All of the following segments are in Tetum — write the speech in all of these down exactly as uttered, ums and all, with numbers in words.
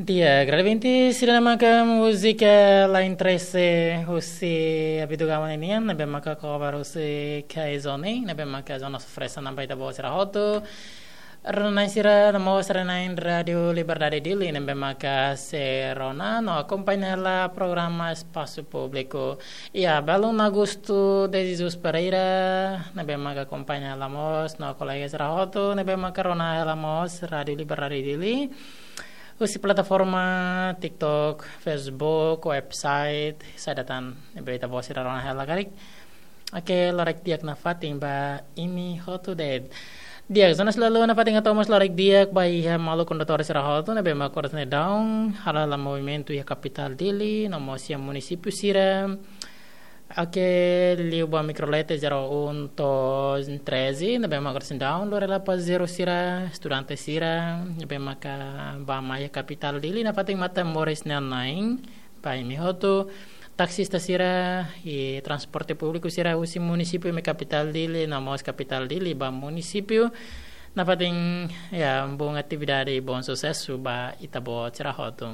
Di'ak, grande ouvinte sira, ne'e maka múzika Lain Trese husi Abidugama ninian, ne'ebé maka cover husi K Zone, ne'ebé maka zona surpresa namba ita-boot sira hotu. Rona-na'in sira, no mós rona-na'in Rádiu Liberdade Dili, ne'ebé maka sei rona no akompaña hela programa Espasu Públiku. Iha belun Augusto de Jesus Pereira, ne'ebé maka akompaña hela mós no kolega sira hotu, ne'ebé maka rona hela mós Rádiu Liberdade Dili husi plataforma TikTok, Facebook, website, saida tan ne'ebé ita-boot sira rona hela karik. Oke, loraik di'ak nafatin ba imi hotu de'it. Di'ak, zona selalu nafatin hato'o mós loraik di'ak ba iha maluk kondutór sira hotu ne'ebé maka oras ne'e daudaun halo hela movimentu iha kapitál Dili, no mós iha munisípiu sira. Oke, liu ba Microlete zero um to'o treze, ne'ebé maka oras ne'e daudaun lori hela pasajeiru sira, estudante sira, ne'ebé maka bá mai iha kapitál Dili, nafatin matan moris nanain ba imi hotu, taxista sira, i transporte públiku sira husi munisípiu mai kapitál Dili, no mós kapitál Dili ba munisípiu, nafatin, ya, bom atividade, bom susesu ba ita-boot sira hotu.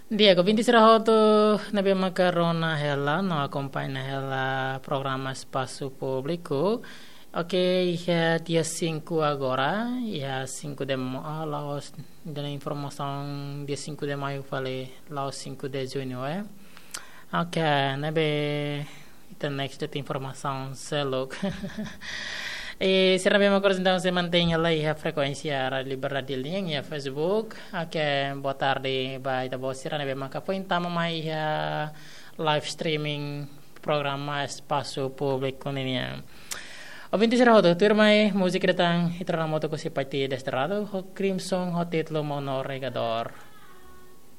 Di'ak, ouvinte sira hotu ne'ebé maka rona hela no akompaña hela programa Espasu Públiku. Oke, iha dia cinco agora, iha cinco de ma-, ah, la'ós, dala informasaun dia cinco de maio fali, la'ós cinco de junho, eh. Oke, ne'ebé ita next de'it informasaun seluk. I sira ne'ebé maka oras ne'e daudaun sei mantein hela iha frekuénsia Rádiu Liberdade Dili nian iha Facebook. Oke, boa tarde ba ita-boot sira ne'ebé maka foin tama mai iha live streaming programa Espasu Públiku ninian. Ouvinte sira hotu, tuirmai múzika ida tan ita rona hamutuk husi Paiti Desterrado, ho Crimson, ho títulu Mono Regador.